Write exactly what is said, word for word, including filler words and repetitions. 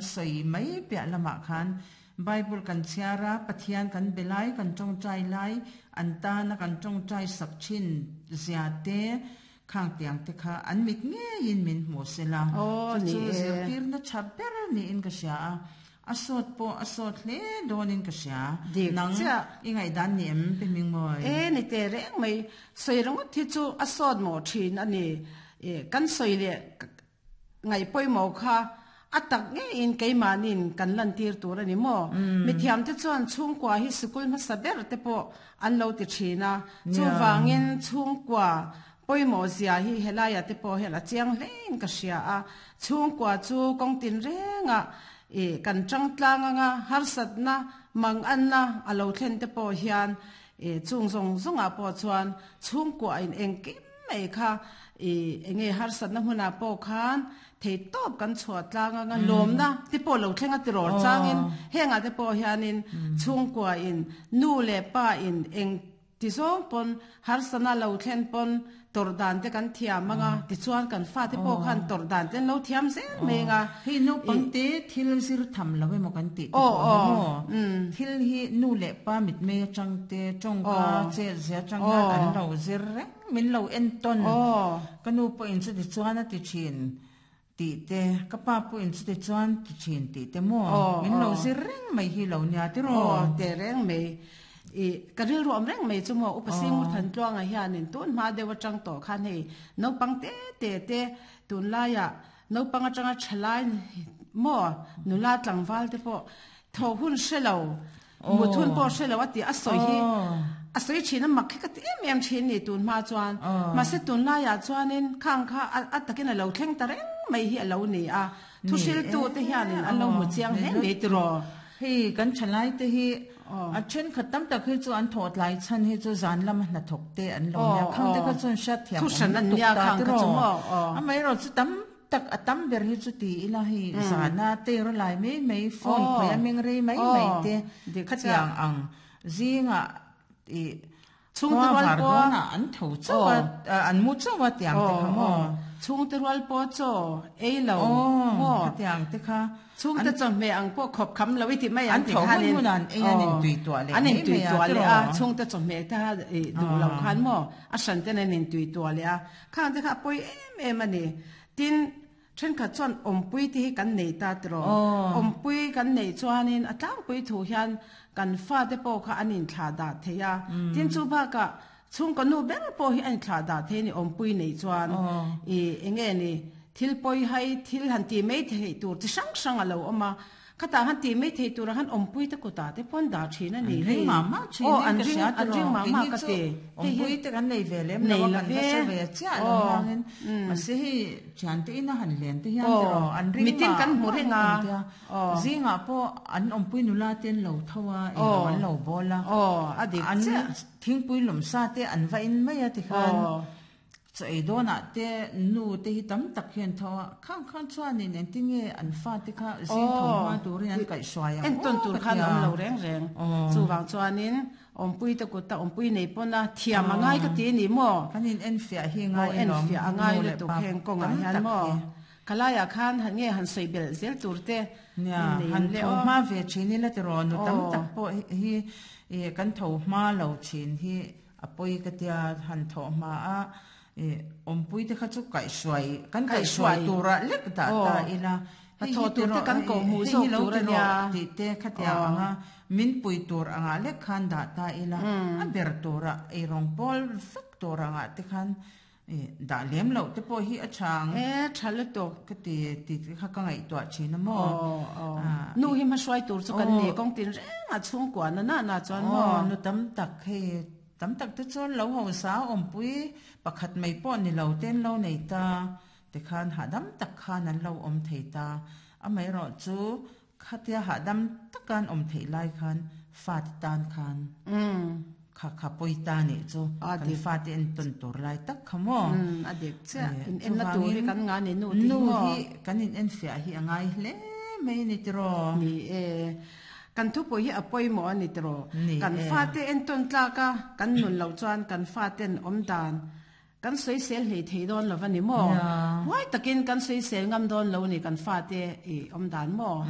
sawi mai piah lamah khan Bible kan chhiar a, Pathian kan be lai, kan tawngtai lai, an tana kan tawngtai sak thin zia te, khang tiang te kha an mit ngeiin min hmu sela. Aw, Chu ni chu e. zirtirna tha ber niin ka hria a, a sawt pawh a sawt hle dawnin ka hria. Dik Nang chiah. i ngaihdan ni em Pi Hmingmawi? E ni te reng mai, sawi ringawt hi chu a sawt mawh thin a ni. E, kan sawi leh ngaih pawimawh kha a tak ngeiin keimahnin kan lantir tur a ni maw? Mithiam te chuan chhungkua hi sikul hmasa ber te pawh an lo ti thin a, chuvangin chhungkua pawimawh zia hi helaiah te pawh hian a chiang hlein ka hria a, chhungkua chu kawng tin rengah e kan tang tlang anga harsatna mang anna a lo thlen te pawh hian e chung zawng zawngah pawh chuan chhungkua in engkim mai kha e enge harsatna hmunah pawh khan thei tawp kan chhuah tlang anga lawmna te pawh lo thlenga tirawr changin hengah te pawh hianin chhungkua in nu leh pa in eng ti zawng pawn harsana lo thlen pawn tor dan te kan thiam anga tichuan kan fa te pawh khan tor dan te an lo thiam zel mai anga. Hei naupangte thil zir tham lo emaw kan tih te Aw, pawh hi aw. maw? Thil hi nu leh pa mit mei atang te tawngka chet zia atang hian an lo zir reng min lo en tawn. Aw. Ka nu pawhin chuti chuan a ti thin tih te, ka pa pawhin chuti chuan ti thin tih te maw? Aw, Min lo aw. zir reng mai hi lo nia tiraw? Aw, te reng mai. I ka rilru awm reng mai chu maw upa Singmur Thantluanga hianin tun hma deuh atang tawh khan hei naupang te te te tunlaiah naupang atanga thalai maw nula tlangval te pawh tho hun hre lo mut hun pawh hre lo a ti a sawi hi a sawi thin a mak hi ka ti em em thin ni tun hma chuan mahse tunlaiah chuanin khang kha a takin a lo thleng ta reng mai hi a lo ni a thu hriltu te hianin an lo hmu chiang hle mai tiraw. Hei kan thalai te hi a then khat tam tak hi chu an thaw tlai chan hi chu zan lama hnathawk te an lo nia khang te kha chuan hriat thiam Thu hran an nia khang kha chu maw aw. A mai ro chu tam tak a tam ber hi chu ti ila hei zana te ro lai mai mai phone Aw. khawih a meng rei mai mai te Dik khatiang ang zinga i Chhungte rual var pawh dawnah an tho chauh a an mu chauh a tiang te kha maw chhungte rual pawh chaw ei lo aw maw khatiang te kha chhungte chawhmeh ang pawh khawp kham lo i ti mai An ang ti tho khanin hun hunan ei an intui tuah leh an mai intui mai a tuah leh a tiraw? chhungte chawhmeh te kha i duh lo khan maw a hran ten an intui tuah leh a khang te kha a pawi em em a ni tin thenkhat chuan awmpui te hi kan nei ta tiraw awmpui kan nei chuanin a tlangpui thu hian kan fa te pawh kha an inthlah dah thei a tin chu bakah chhungkaw nu ber pawh hi an inthlah dah thei ni awmpui nei chuan i enge ni thil pawi hai thil han ti mai thei tur chi hrang hrang a lo awm a khatah han ti mai thei tur han awmpui te kutah te pawn dah thin a ni An ring mah mah thin aw in an ka ring hria an tiraw ring mah mah Keini ka chu ti awmpui te kan nei ve lem lo Nei a lo kan va ve. hre ve chiah lo Aw. hiangin mahse hei thian te ina han len te hian Aw. tiraw an ring Mitin mah kan hmu mah reng a. kan tia. Aw. Zingah pawh an awmpui nula te an lo tho a Aw. eng an lo bawl a aw a dik an chiah thingpui lawm sa te an va in mai a tikhan Aw. chaw ei dawnah te nu te hi tam tak hian tho a khang khan chuanin engtin nge an fa te kha zing tho hma turin an kaihhruai ang en ton aw tur ka khan tia. awm lo reng reng chuwang chuanin awmpui te kut ta awmpui nei pawn a thiam a ngai ka ti ni maw kan in en fiah hi aw ngai en alawm fiah a ngai nu leh lutuk pa heng kawngah tam hian tak maw hi. khalaiah khan han nge han sawi bel zel tur te Nia, in nei han le tho aw. hma ve thin ila tiraw nu tam Aw. tak pawh hi hi e, kan tho hma lo thin hi a pawi ka tia han tho hma a e, awmpui te kha chu kaihhruai kan kaihhruai Kaihhruai. tura lek dah Aw. ta ila A Hei tho hi tur te tiraw, kan hei koh hmuh hei zawk hi lo tur a tiraw nia. tih te khatia Aw. anga min pui tur anga lek khan dah ta ila a ber tura eirawng pawl vek tur anga te khan e, dah lem loh te pawh hi a chang e tha lutuk ka ti ti kha ka ngaihtuah thin a maw aw aw Ah, nu hi ma hruai tur chu kan Aw. ni kawng tin reng a chhungkua na na na chuan aw maw nu tam tak hei tam tak te chuan lo ho sa awmpui pakhat mai pawh ni lo ten lo nei ta te khan hahdam tak khan an lo awm thei ta a mai erawh chu khatia hahdam takan awm theih lai khan fa te tan khan um kha kha pawi ta ni chu A kan dik. fa te en ton tur lai tak kha maw um a dik chiah Eh, in en na tur hi chuvangin kan nga ni nu ti nu maw hi kan in en fiah hi a ngai hle mai ni tiraw ni e kan thu pawh hi a pawimawh a ni tiraw Ni kan e. fa te en ton tlak a kan nun lo chuan kan fa ten awm dan kan sawisel hlei thei dawn lo ani maw Ya. huai takin kan sawisel ngam dawn lo ni kan fa te i awm dan maw